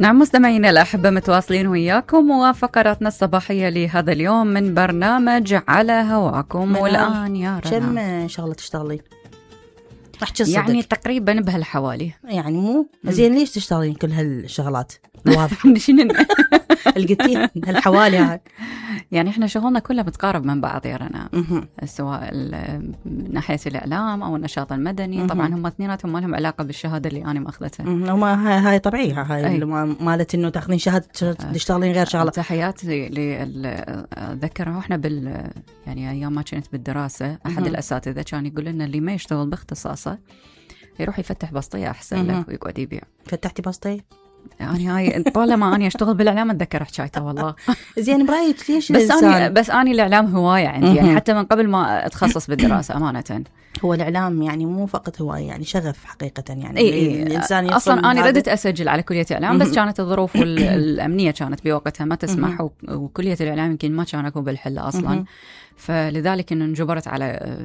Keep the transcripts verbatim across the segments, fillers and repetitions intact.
نعم مستمعينا الأحبة، متواصلين وياكم وفقراتنا الصباحية لهذا اليوم من برنامج على هواكم. والآن يا رنا كم شغلة تشتغلين؟ يعني تقريبا بهالحوالي. يعني مو زين ليش تشتغلين كل هالشغلات؟ واضح القتين هالحوالي هاي. يعني احنا شغلنا كله متقارب من بعض يا رنا، سواء من ناحية الإعلام أو النشاط المدني. طبعا هم اثنيناتهم ما لهم علاقة بالشهادة اللي أنا ماخذتها. وما هاي طبيعية، هاي مالت إنه تاخذين شهادة تشتغلين غير شغلة. تحياتي لأذكر احنا بال يعني أيام ما كنت بالدراسة أحد الأساتذة كان يقول لنا اللي ما يشتغل باختصاصه يروح يفتح بسطية أحسن له ويقعد يبيع. فتحتي بسطية؟ يعني هاي طالما أنا أشتغل بالإعلام أتذكر حكايته والله. زين برأيك ليش بس أنا بس أنا الإعلام هواية عندي، يعني حتى من قبل ما أتخصص بالدراسة أمانة. هو الإعلام يعني مو فقط هواية، يعني شغف حقيقة. يعني إيه إيه الإنسان أصلا أنا ردت أسجل على كلية إعلام، بس كانت الظروف الأمنية كانت بوقتها ما تسمح، وكلية الإعلام يمكن ما كان أكون بالحلة أصلا، فلذلك إنه انجبرت على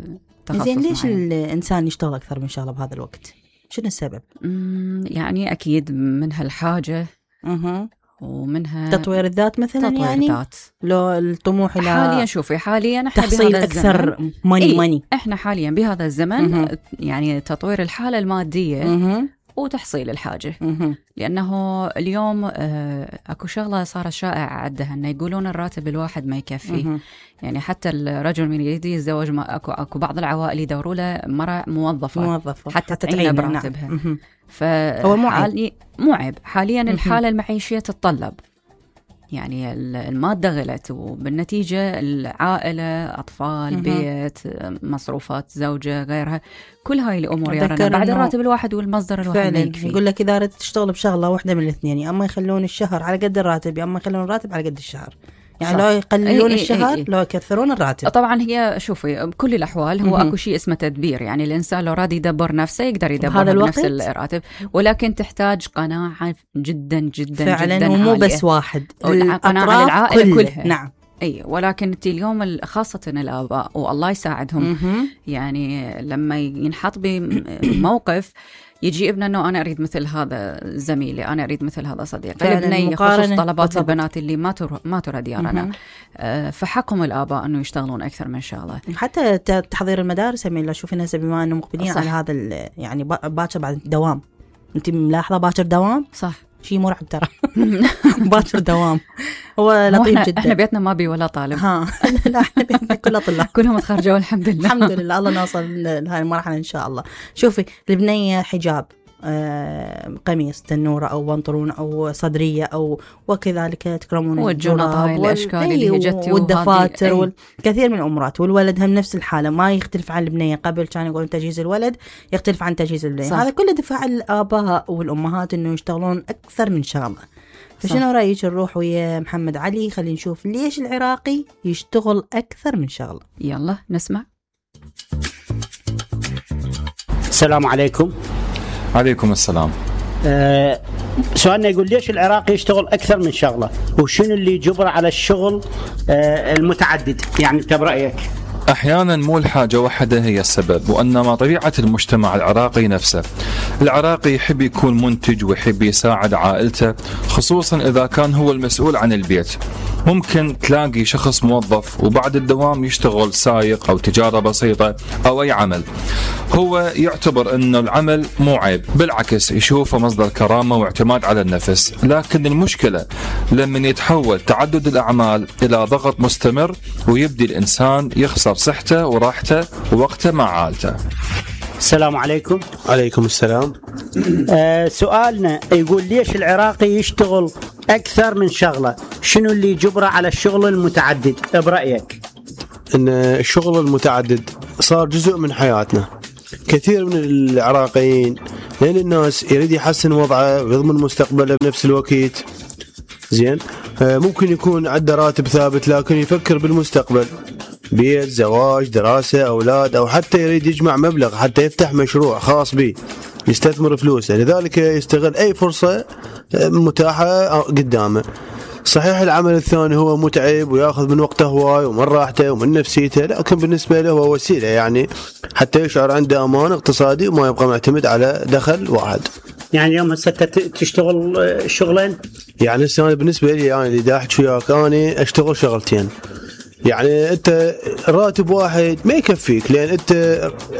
تخصص. زين ليش الإنسان يشتغل أكثر من شغلة بهذا الوقت؟ شنو السبب؟ يعني أكيد منها الحاجة أه. ومنها تطوير الذات مثلا. تطوير يعني الذات. لو الطموح إلى حاليا شوفي حاليا احنا تحصيل أكثر ماني إيه؟ ماني احنا حاليا بهذا الزمن أه. يعني تطوير الحالة المادية أه. وتحصيل الحاجة أه. لأنه اليوم آه أكو شغلة صارت شائعة عندها أنه يقولون الراتب الواحد ما يكفي أه. يعني حتى الرجل من يريد يتزوج ما أكو, أكو بعض العوائل يدوروا له مرة موظفة, موظفة. حتى تعين براتبها. نعم. فهو مو عيب. مو عيب حاليا الحالة المعيشية تتطلب، يعني المادة غلت، وبالنتيجة العائلة أطفال مم. بيت مصروفات زوجة غيرها، كل هاي الأمور يا رنا بعد الراتب الواحد والمصدر الواحد ما يكفي. يقول لك إذا ردت تشتغل بشغلة واحدة من الاثنين، أما يخلون الشهر على قد الراتب، أما يخلون الراتب على قد الشهر. يعني لو يقللون أي الشهر أي أي. لو يكثرون الراتب. طبعا هي شوفي بكل الأحوال هو أكو شيء اسمه تدبير، يعني الإنسان لو راد يدبر نفسه يقدر يدبر بنفس الراتب، ولكن تحتاج قناعة جدا جدا فعلا جدا ومو بس واحد، قناعة العائلة كل كلها. نعم. أي ولكن انت اليوم خاصة الآباء والله يساعدهم يعني لما ينحط بموقف يجي ابنه انه انا اريد مثل هذا زميلي، انا اريد مثل هذا صديقي، ابني خصوص طلبات بالضبط. البنات اللي ما تر... ما ترد يا رنا، آه فحقهم الاباء انه يشتغلون اكثر من شغله. حتى تحضير المدارس يعني شوفي الناس بما انه مقبلين على هذا يعني باكر بعد دوام، انت ملاحظه باكر دوام صح، شيء مرعب ترى. باكر دوام هو لطيف جدا. احنا بيتنا ما بي ولا طالب. ها لا احنا بيتنا كلها طلاب كلهم تخرجوا الحمد لله. الحمد لله الله نوصل لهذه المرحله ان شاء الله. شوفي البنيه حجاب آه، قميص تنورة أو بنطلون أو صدرية أو وكذلك تكرمون والجنط هاي الأشكال اللي هي جتي والدفاتر والكثير من الأمورات. والولد هم نفس الحالة، ما يختلف عن البنية. قبل كان يقولون تجهيز الولد يختلف عن تجهيز البنية. هذا كله دفاع الآباء والأمهات إنه يشتغلون أكثر من شغلة. فشنو رأيك نروح ويا محمد علي خلينا نشوف ليش العراقي يشتغل أكثر من شغلة؟ يلا نسمع. السلام عليكم. عليكم السلام. أه سؤالنا يقول ليش العراقي يشتغل أكثر من شغلة، وشنو اللي يجبره على الشغل أه المتعدد؟ يعني برأيك؟ أحيانا مو الحاجة واحدة هي السبب، وإنما طبيعة المجتمع العراقي نفسه. العراقي يحب يكون منتج ويحب يساعد عائلته، خصوصا إذا كان هو المسؤول عن البيت. ممكن تلاقي شخص موظف وبعد الدوام يشتغل سايق أو تجارة بسيطة أو أي عمل. هو يعتبر أنه العمل مو عيب، بالعكس يشوفه مصدر كرامة واعتماد على النفس. لكن المشكلة لما يتحول تعدد الأعمال إلى ضغط مستمر ويبدي الإنسان يخسر صحته وراحته ووقته مع عائلته. السلام عليكم. عليكم السلام. آه سؤالنا يقول ليش العراقي يشتغل أكثر من شغلة، شنو اللي يجبره على الشغل المتعدد برأيك؟ إن الشغل المتعدد صار جزء من حياتنا. كثير من العراقيين لأن الناس يريد يحسن وضعه ويضمن مستقبله بنفس الوقت. زين آه ممكن يكون عنده راتب ثابت لكن يفكر بالمستقبل، بيت، زواج، دراسة، أولاد، أو حتى يريد يجمع مبلغ حتى يفتح مشروع خاص به يستثمر فلوسه. لذلك يستغل أي فرصة متاحة قدامه. صحيح العمل الثاني هو متعب ويأخذ من وقته هواي ومن راحته ومن نفسيته، لكن بالنسبة له هو وسيلة يعني حتى يشعر عنده أمان اقتصادي وما يبقى معتمد على دخل واحد. يعني اليوم هسه تشتغل شغلين؟ يعني هسه انا بالنسبه لي انا اللي دا احكي وياك انا اشتغل شغلتين. يعني انت راتب واحد ما يكفيك، لان انت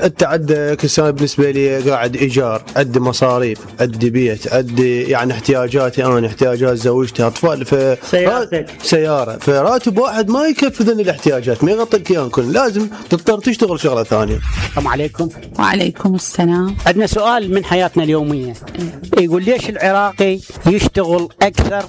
انت عندك هسه بالنسبه لي قاعد ايجار، عندي مصاريف، عندي بيت، عندي يعني احتياجاتي انا، احتياجات زوجتي، اطفال، ف سيارتك سياره، فراتب واحد ما يكفي ذن الاحتياجات، ما يغطي لك اياهم كلهم، لازم تضطر تشتغل شغله ثانيه. السلام عليكم. وعليكم السلام. عندنا سؤال من حياتنا اليوميه، يقول ليش العراقي يشتغل اكثر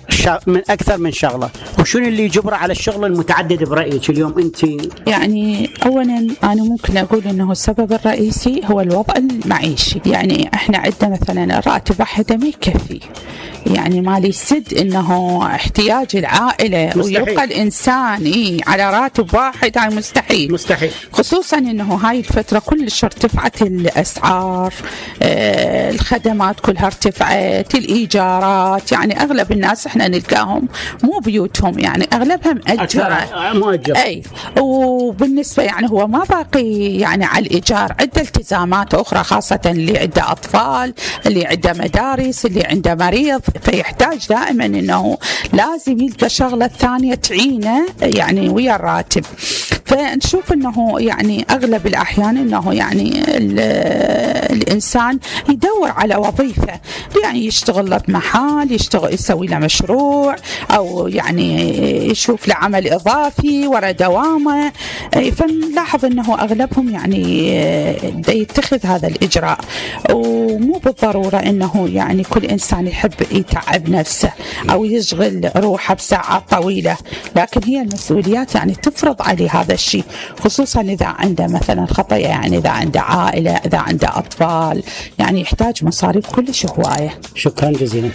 من اكثر من شغله، وشنو اللي يجبره على الشغل المتعدد برايك اليوم انت؟ يعني اولا انا ممكن اقول انه السبب الرئيسي هو الوضع المعيشي. يعني احنا عندنا مثلا الراتب واحد ما يكفي، يعني ما لي سد انه احتياج العائله مستحيل. ويبقى الانسان إيه على راتب واحد، هاي مستحيل مستحيل، خصوصا انه هاي الفتره كلش ارتفعت الاسعار، آه الخدمات كلها ارتفعت، الايجارات، يعني اغلب الناس احنا نلقاهم مو بيوتهم، يعني اغلبها مأجره مؤجر. اي وبالنسبه يعني هو ما باقي يعني على الايجار، عنده التزامات اخرى، خاصه اللي عنده اطفال، اللي عنده مدارس، اللي عنده مريض، فيحتاج دائما انه لازم يلقى شغله ثانيه تعينه يعني ويا الراتب. فنشوف انه يعني اغلب الاحيان انه يعني الانسان يدور على وظيفه، يعني يشتغل له بمحل، يشتغل يسوي له مشروع، او يعني يشوف له عمل اضافي ورا دوامه. فنلاحظ انه اغلبهم يعني يتخذ هذا الاجراء، ومو بالضروره انه يعني كل انسان يحب يتعب نفسه او يشغل روحه بساعات طويله، لكن هي المسؤوليات يعني تفرض عليه هذا الشيء، خصوصا اذا عنده مثلا خطيه، يعني اذا عنده عائله، اذا عنده اطفال، يعني يحتاج مصاريف كلش هوايه. شكرا جزيلا.